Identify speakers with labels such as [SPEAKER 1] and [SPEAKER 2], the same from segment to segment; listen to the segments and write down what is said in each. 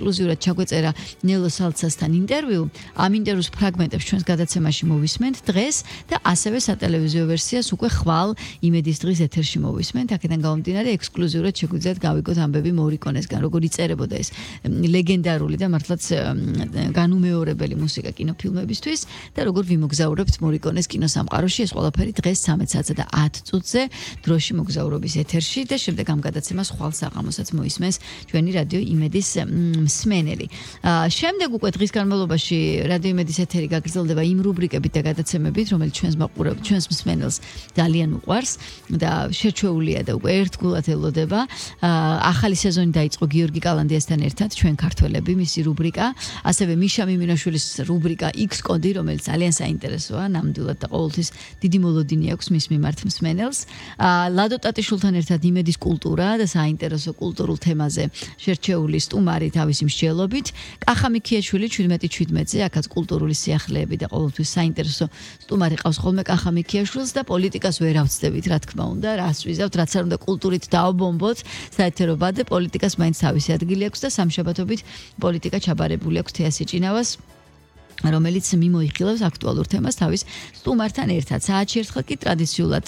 [SPEAKER 1] ექსკლუზიურად ჩაგვეწერა ნელო სალცასთან ინტერვიუ. Ამ ინტერვიუს ფრაგმენტებს ჩვენს გადაცემაში მოვისმენთ დღეს და ასევე სატელევიზიო ვერსიას უკვე ხვალ იმედის დღის ეთერში მოვისმენთ. აქედან გამომდინარე ექსკლუზიურად შეგვიძლიათ გავიგოთ ამბები მორიკონესგან, როგორ იწერებოდა ეს ლეგენდარული და მართლაც განუმეორებელი მუსიკა კინოფილმებისთვის და როგორ ვიმოგზაურებთ მორიკონეს კინოსამყაროში. ეს ყველაფერი დღეს 13:10 და 10 წუთზე დროში მოგზაურობის ეთერში და შემდეგ ამ გადაცემას ხვალ საღამოსაც მოისმენს ჩვენი რადიო იმედის მსმენელი. შემდეგ უკვე დღის განმავლობაში რადიო იმედის ეთერი გაგრძელდება იმ რუბრიკებით და გადაცემებით, რომელიც ჩვენს მსმენელს ძალიან უყვარს და შერჩეულია და უკვე ერთგულად ელოდება. ახალი სეზონი დაიწყო გიორგი კალანდიასთან ერთად, ჩვენ ქართველები, მისი რუბრიკა, ასევე მიშა მიმინაშვილის რუბრიკა X კოდი, რომელიც ძალიან საინტერესოა, ნამდვილად და ყოველთვის დიდი მოლოდინი აქვს მის მიმართ მსმენელს. ლადო ტატიშვილთან ერთად იმედის კულტურა და საინტერესო კულტურულ თემაზე შერჩეული სტუმარი თავისი მსჯელობით. კახა მიქიაშვილი 17:17-ზე, აქაც კულტურული სიახლეები და ყოველთვის საინტერესო სტუმარი ყავს ხოლმე კახა მიქიაშვილს და პოლიტიკას ვერ ავწდებით, რა თქმა უნდა, რას ვიზავთ, რაც არ უნდა კულტურით დაავბომბოთ, საერთო ბადე პოლიტიკას მაინც თავისი ადგილი აქვს და სამშაბათობით პოლიტიკა ჩაბარებული აქვს თეასი ჭინავას, რომელიც მიმოიხილავს აქტუალურ თემას თავის სტუმართან ერთად. საათში ერთხელ კი ტრადიციულად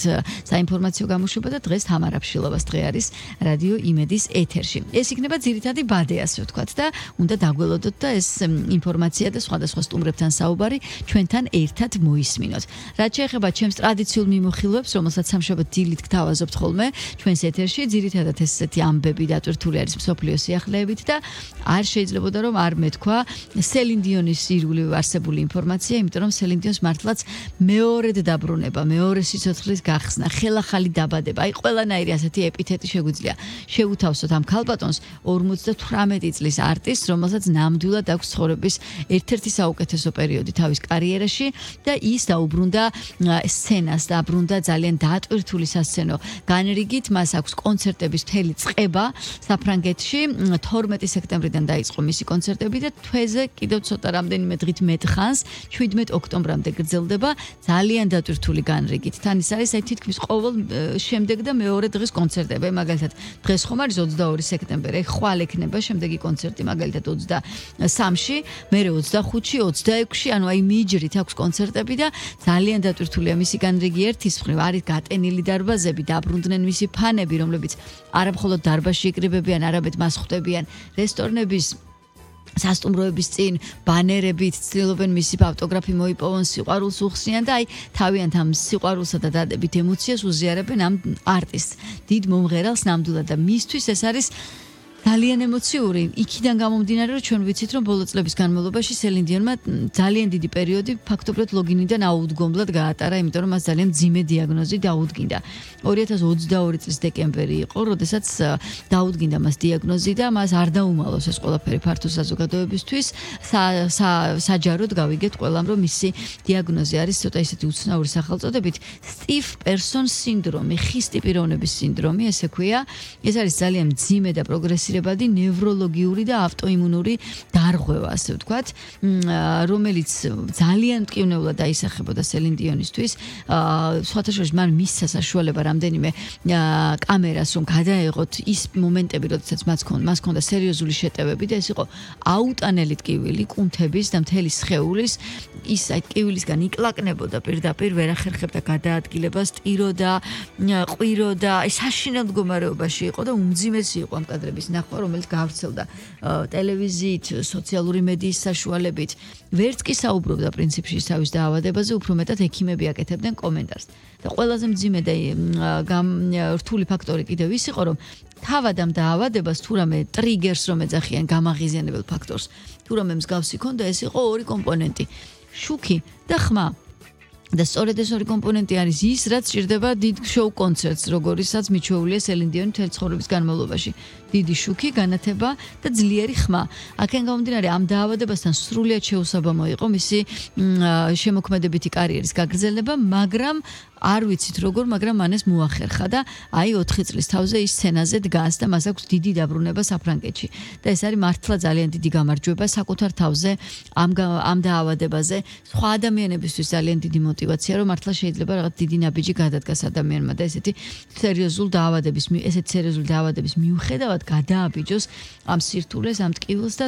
[SPEAKER 1] საინფორმაციო გამოშვება და დღეს თამარ აფშილოვას დღე არის რადიო იმედის ეთერში. ეს იქნება ძირითადი ბადე, ასე ვთქვათ და უნდა დაგველოდოთ და ეს ინფორმაცია და სხვადასხვა სტუმრებთან საუბარი ჩვენთან ერთად მოისმინოთ. რაც შეეხება ჩემს ტრადიციულ მიმოხილვებს, რომელსაც სამშაბათ დილით გთავაზობთ ხოლმე ჩვენს ეთერში, ძირითადად ესეთი ამბები დატვირთული არის მსოფლიო სიახლეებით და არ შეიძლებოდა რომ არ მეთქვა სელინ დიონის ირგვლივ არსებული ინფორმაცია, იმიტომ რომ სელინ დიონს მართლაც მეორედ დაბრუნება, მეორე სიცოცხლის გახსნა, ხელახალი დაბადება, აი ყველანაირი ასეთი ეპითეტი შეგვიძლია შეუთავსოთ ამ ქალბატონს 58 წლის არტისტს, რომელსაც ნამდვილად აქვს ცხოვრების ერთ-ერთი საუკეთესო პერიოდი თავის კარიერაში და ის დაუბრუნდა სცენას, დაბრუნდა ძალიან დატვირთული სასცენო განრიგით, მას აქვს კონცერტების მთელი წყება საფრანგეთში, 12 სექტემბრიდან დაიწყო მისი კონცერტები და თვეზე კიდევ ცოტა რამდენიმე დღით მეტ ხანს 17 ოქტომბრამდე გრძელდება ძალიან დატვირთული განრიგით. თან ის არის თითქმის ყოველ შემდეგ და მეორე დღის კონცერტები. მაგალითად, დღეს ხომ არის 22 სექტემბერი, ხვალ ექნება შემდეგი კონცერტი, მაგალითად 23-ში, მერე 25-ში, 26-ში, ანუ აი მიჯრით აქვს კონცერტები და ძალიან დატვირთულია მისი განრიგი. ერთის მხრივ არის გატენილი დარბაზები, დაბრუნდნენ მისი ფანები, რომლებიც არა მხოლოდ დარბაზში იკრიბებიან, არამედ მას ხვდებიან რესტორნების სასტუმროების წინ ბანერებით ცდილობენ მისი ავტოგრაფი მოიპოვონ, სიყვარულს უხსნიან და აი თავიანთ ამ სიყვარულსა და დადებით ემოციას უზიარებენ ამ არტისტს, დიდ მომღერალს ნამდვილად და მისთვის ეს არის ძალიან ემოციური. იქიდან გამომდინარე, რომ ჩვენ ვიცით, რომ ბოლო წლების განმავლობაში სელინ დიონმა ძალიან დიდი პერიოდი ფაქტობრივად ლოგინიდან აუდგომლად გაატარა, იმიტომ რომ მას ძალიან მძიმე დიაგნოზი დაუდგინდა. 2022 წლის დეკემბერი იყო, როდესაც დაუდგინდა მას დიაგნოზი და მას არ დაუმალოს ეს ყველაფერი ფართო საზოგადოებისთვის. საჯაროდ გავიგეთ ყველამ, რომ მისი დიაგნოზი არის ცოტა ისეთი უცნაური სახელწოდებით სტივ პერსონ სინდრომი, ხისტი პიროვნების სინდრომი, ესე ქვია. ეს არის ძალიან მძიმე და პროგრესიული ნევროლოგიური და ავტოიმუნური დარღვევა, ასე ვთქვათ, რომელიც ძალიან მტკივნეულად დაისახებოდა სელინ დიონისთვის. სხვათა შორის მან მისცა საშუალება რამდენიმე კამერას რომ გადაეღოთ ის მომენტები, როდესაც მას ჰქონდა სერიოზული შეტევები და ეს იყო აუტანელი ტკივილი კუნთების და მთელი სხეულის, ის აი ტკივილისგან იკლაკნებოდა პირდაპირ, ვერ ახერხებდა გადაადგილებას, ტიროდა, ყვიროდა, აი საშინელ მდგომარეობაში იყო და უმძიმესი იყო ამ კადრების ნახვა, რომელიც გავრცელდა ტელევიზიით, სოციალური მედიის საშუალებით. ვერც კი საუბრობდა პრინციპში თავის დაავადებაზე, უფრო მეტად ექიმები აკეთებდნენ კომენტარს. და ყველაზე მძიმე და რთული ფაქტორი კიდევ ის იყო, რომ თავად ამ დაავადებას თუ რამე ტრიგერს რომ ეძახიან გამაღიზიანებელ ფაქტორს, თუ რამე მსგავსი ქონდა, ეს იყო ორი კომპონენტი, შუქი და ხმა. და სწორედ ეს ორი კომპონენტი არის ის, რაც ჭირდება დიდ შოუ კონცერტს, როგორიცაც მიჩვეულია სელინ დიონი მთელი ცხოვრების განმავლობაში. დიდი შუქი, განათება და ძლიერი ხმა. აქედან გამომდინარე, ამ დაავადებასთან სრულიად შეუსაბამო იყო მისი შემოქმედებითი კარიერის გაგრძელება, მაგრამ არ ვიცით როგორ, მაგრამ მან ეს მოახერხა და აი 4 წლის თავზე ის სცენაზე დგას და მას აქვს დიდი დაბრუნება საფრანგეთში. და ეს არის მართლა ძალიან დიდი გამარჯვება საკუთარ თავზე ამ დაავადებაზე. სხვა ადამიანებისთვის ძალიან დიდი мотиваცია, რომ მართლა შეიძლება რაღაც დიდი ნაბიჯი გადადგას ადამიანმა და ესეთი სერიოზული დაავადების მიუხედავად გადააბიჯოს ამ სირთულეს, ამ ტკივილს და